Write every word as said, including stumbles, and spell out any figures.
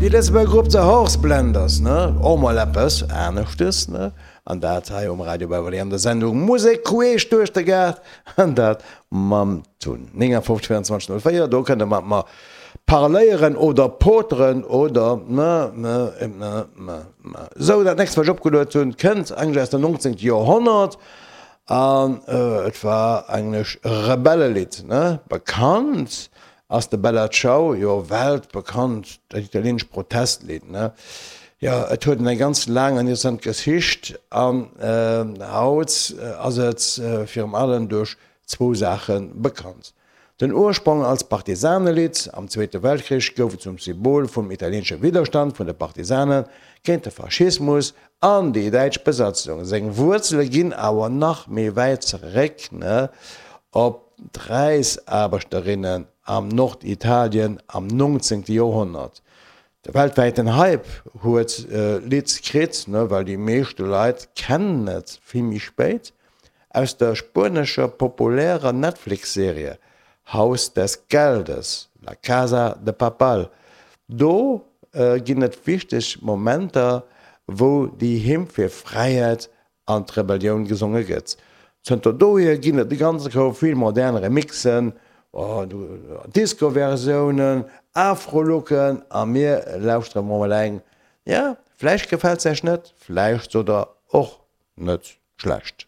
Déi Lëtzebuerger Grupp The Horse Blenders, ne? Och mol eppes aneschtes, ne? An dat hei um Radio Beverly an der Sendung Musek queesch duerch de Gaart, an dat mam Tun. néngafofzeg véierundzwanzeg null véier, do kënnt der mat mer parléieren oder poteren oder ne, ne, ne, ne, ne. Sou, dat nächst, wat ech opgeluet hunn, kënnt eigentlech aus dem nonzéngte Joerhonnert an et war eigentlech e Rebellelidd, ne? Bekannt ass de Bella Ciao jo weltbekannt, dat italieenescht Protestlidd, ne? Jo, et huet eng ganz laang an interessant Geschicht an haut ass et virum allem duerch zwou Saache bekannt. Den Ursprong als Partisanelidd, am Zweete Weltkrich gouf et zum Symbol vum italieenesche Widderstand vun de Partisane géint de Faschismus an déi däitsch Besatzung. Seng Wuerzele ginn awer nach méi wäit zeréck, ne, op d'Räisaarbechterinnen am Norditalien am nonzéngte Joerhonnert. De weltwäiten Hype huet d'Lidd kritt, well déi meeschte Leit kennen et vill méi spéit, aus der spuenescher populärer Netflix-Serie Haus des Geldes, La Casa de Papal. Do ginn et wichteg Momenter, wou déi Hymn fir Fräiheet an d'Rebellioun gesonge gëtt. Zënter dohier ginn et e ganze Koup vill modern Remixen, Disco-Versiounen, Afro-Looken a mir lauschtere mol eng. Jo, vläicht gefält se iech net, vläicht sot der och net schlecht.